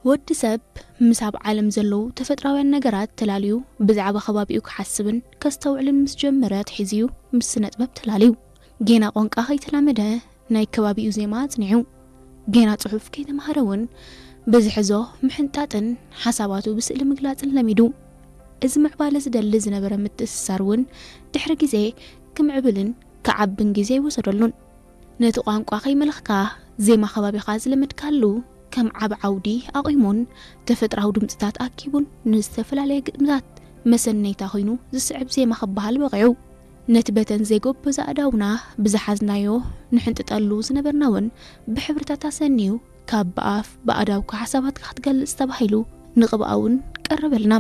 ወዲ ሰብ ምስ ኣብ ዓለም ዘለዉ ተፈጥራውያን ነገራት ተላልዩ ብዛዕባ ከባቢኡ ክሓስብን ከስተውዕልን ምስ ጀመረ ኣትሒዙ እዩ ምስ ስነ ጥበብ ተላልዩ። ጌና ቋንቋ ከይተላመደ ናይ ከባቢኡ ዜማ ኣጽኒዑ። ጌና ጽሑፍ ከይተማሃረ እውን ብዝሕዞ ምሕንጣጥን ሓሳባቱ ብስእሊ ምግላጽን ለሚዱ። እዚ ምዕባለ ዝደሊ ዝነበረ ምትእስሳር እውን ድሕሪ ግዜ ክምዕብልን ክዓብን ግዜ ኣይወሰደሉን። ነቲ ቋንቋ ከይመለኽካ ዜማ ከባቢኻ ዝለመድካሉ ከም ዓብ ዓውዲ ኣቑሙን ተፈጥራዊ ድምፅታት ኣኪቡን ንዝተፈላለየ ግጥምታት መሰነይታ ኮይኑ ዝስዕብ ዜማ ክበሃል በቒዑ። ነቲ በተን ዘይጎበዛ ኣእዳውና ብዝሓዝናዮ ንሕንጥጠሉ ዝነበርና እውን ብሕብርታት ኣሰንዩ ካብ ብኣፍ ብኣእዳውካ ሓሳባትካ ክትገልጽ ተባሂሉ ንቕብኣ እውን ቀረበልና።